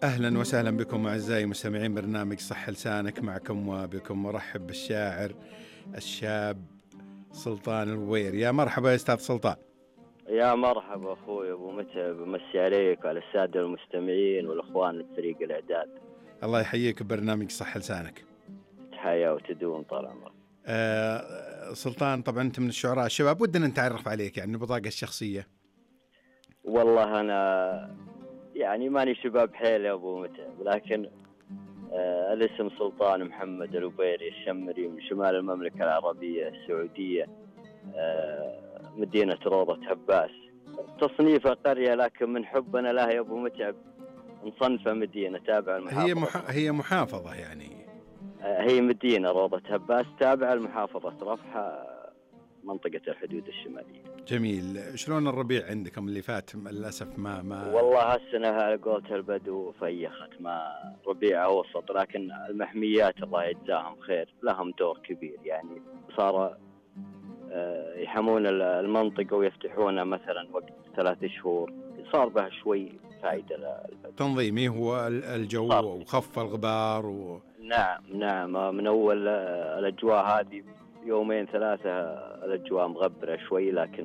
أهلا وسهلا بكم أعزائي مستمعين برنامج صح لسانك، معكم وبكم مرحب بالشاعر الشاب سلطان الغوير. يا مرحبا يا أستاذ سلطان. يا مرحبا أخوي أبو متعب، مسي عليك وعلى السادة المستمعين والأخوان فريق الإعداد. الله يحييك ببرنامج صح لسانك. تحيا وتدوم طال عمرك. سلطان، طبعا أنت من الشعراء الشباب، ودنا نتعرف عليك يعني البطاقة الشخصية. والله أنا يعني ماني شباب حيل يا أبو متعب، لكن الاسم سلطان محمد الغويري الشمري من شمال المملكة العربية السعودية، مدينة روضة هباس. تصنيفها قرية، لكن من حبنا لها يا أبو متعب نصنفها مدينة تابعة المحافظة. هي محافظة يعني. هي مدينة روضة هباس تابعة لمحافظة رفح، منطقة الحدود الشمالية. جميل. شلون الربيع عندكم اللي فات؟ للأسف ما والله هالسنة على قولة البدو فيخت، ما ربيع وسط، لكن المحميات الله يجزاهم خير لهم دور كبير. يعني صار يحمون المنطقة ويفتحونها مثلا وقت 3 شهور، صار بها شوي فائدة للبدو. تنظيمي هو الجو وخف الغبار نعم من أول الأجواء هذه 2-3 الأجواء مغبرة شوي، لكن